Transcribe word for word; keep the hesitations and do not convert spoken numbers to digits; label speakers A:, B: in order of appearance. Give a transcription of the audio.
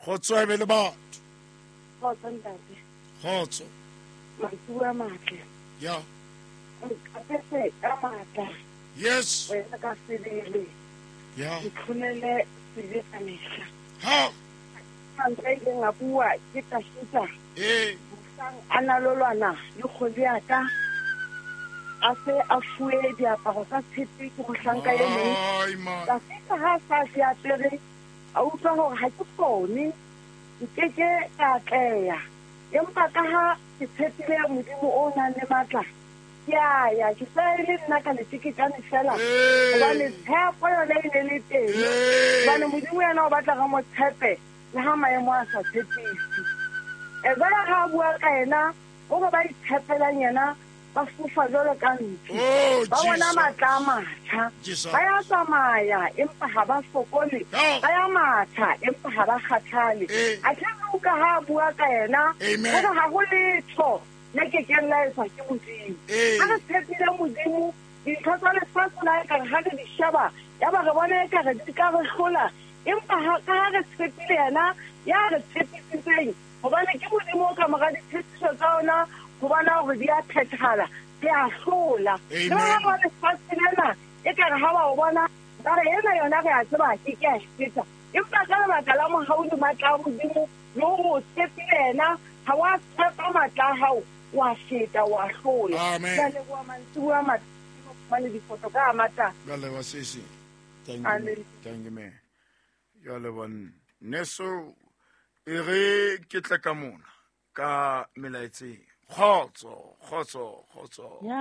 A: Kgotso e be le batho.
B: Kgotso ntate.
A: Kgotso.
B: Mantsiboya a matle.
A: Ya.
B: Nkapese ka matla.
A: Yes.
B: Wena ka sebele.
A: Ya.
B: Ntlhonele sebe ka mehla.
A: Ha.
B: Mantswe a ileng a bua ke Tafita.
A: Ee.
B: Mohlang a na lo lwana le kgwedi ya ka, a se a fuwe diaparo tsa tshepe ke mohlanka e mong.
A: Ai, man.
B: Tafita ha a sa di apere, a utlwa hore ha ke kgone, nkeke ka atleha. Empa ka ha ke tshepile Modimo o nang le matla, ke a ya, ke sa e le nna ka leteketjane fela.
A: Ee.
B: Hobane tshepo yona e ne le teng.
A: Ee.
B: Hobane Modimo yena o batla re mo tshepe, le ha maemo a sa tshepise. E jwale ha a bua ka yena, o re ba itshepelang yena, ba fofa jwalo ka ntsu.
A: Oh,
B: Ba bona
A: Jesus.
B: matla a matjha.
A: Jesus.
B: Ba ya tsamaya, empa ha ba fokole.
A: No.
B: Ba ya matha, empa ha ba kgathale.
A: Eh.
B: Athe Luka ha a bua ka yena,
A: Amen.
B: o re ha ho letho le kekeng la etswa ke Modimo.
A: Eh.
B: Ha re tshepile Modimo, dintho tsa lefatshe la ekare ha re di sheba, ya ba re bona ekare di ka re hlola. Empa ha, ka ha re tshepile yena, ya re tshepisitseng, hobane ke Modimo o ka mora ditshepiso tsa ona, ho bona hore di a phethahala, di a hlola.
A: Amen.
B: Le ba ba lefatshe lena, ekare ha ba o bona, ba re ena yona re a tseba ke ke a e feta. Empa ka lebaka la mohau le matla a Modimo, le hore o tshepile yena, ha wa tshepa matla a hao, wa feta, wa hlola.
A: Amen.
B: Ke a leboha mantsiboya a matle, fumane difoto ka a matla.
A: Ke a leboha, sesi. Thank you,
B: Amen.
A: thank you, ma'am. Ke a leboha nna. Neso, e re ke tle ka mona, ka melaetseng. Kgotso, kgotso, kgotso.
C: Ya,